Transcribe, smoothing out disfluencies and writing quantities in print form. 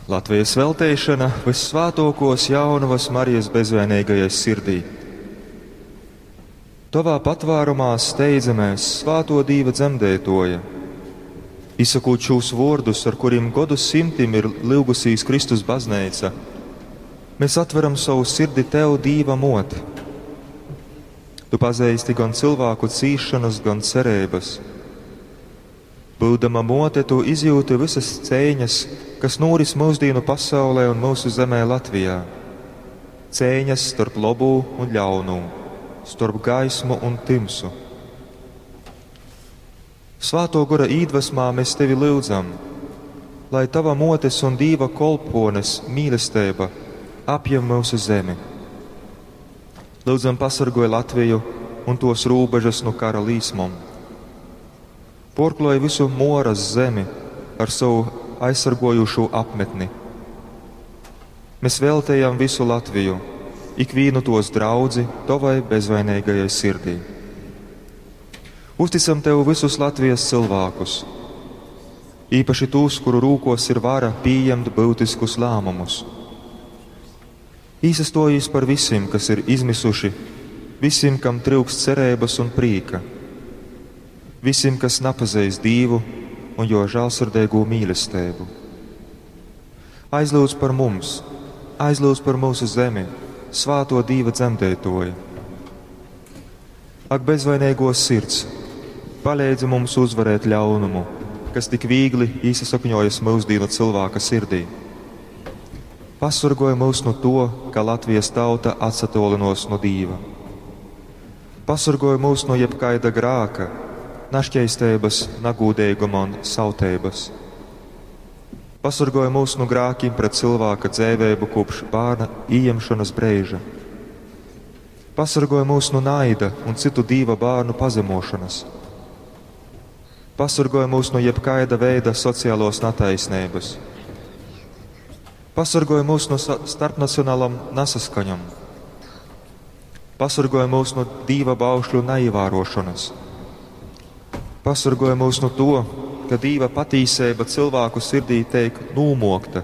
Latvijas velteišana vyssvātōkōs Jaunavas Marijas bezvainīgajai sirdī. Tovā patvārumā steidzamies, svāto Dīva dzemdētoja. Izsakot šos vōrdus, ar kuriem godu simtim ir lyugusīs Kristus bazneica, mēs atveram savu sirdi Tev, Dīva mot. Tu pazeisti gan cilvēku cīšanas, gan cerības. Būdama mote, tu izjūti visas cēņas, kas noris mūsdienu pasaulē un mūsu zemē Latvijā. Cēņas starp labū un ļaunū, starp gaismu un timsu. Svāto gora īdvesmā mēs tevi lūdzam, lai tava motes un Dīva kolpones mīlestība apjem mūsu zemi. Lūdzam, pasargoj Latviju un tos rūbežas no kara līsmom. Porkloj visu moras zemi ar savu aizsargojušo apmetni. Mēs veltējam visu Latviju, ikvienu tos draudzi tavai bezvainīgajai sirdī. Uzticam tev visus Latvijas cilvēkus, īpaši tos, kuru rūkos ir vara pieņemt būtiskus lēmumus. Īsastojīs par visiem, kas ir izmisuši, visiem, kam trūkst cerības un prīka, visiem, kas napazīst Dievu un jo žēlsirdīgo mīlestību. Aizlūdz par mums, aizlūdz par mūsu zemi, svāto Dieva dzemdētoju. Ak, bezvainīgo sirds, palīdzi mums uzvarēt ļaunumu, kas tik viegli iesakņojas mūsdienu cilvēka sirdī. Pasargoj mūs no to, ka Latvijas tauta atsatolinos no Dieva. Pasargoj mūs no jebkaida grāka, našķeistības, nagūdīguma un sautības. Pasargoj mūs no grākiem pret cilvēka dzēvēbu kopš bērna ieņemšanas brīža. Pasargoj mūs no naida un citu Dieva bērnu pazemošanas. Pasargoj mūs no jebkaida veida sociālos netaisnības. Pasargoj mūs no starpnacionālam nesaskaņam. Pasargoj mūs no Dieva baušļu neievērošanas. Pasargoj mūs no to, ka Dieva patīsība cilvēku sirdī tiek nūmokta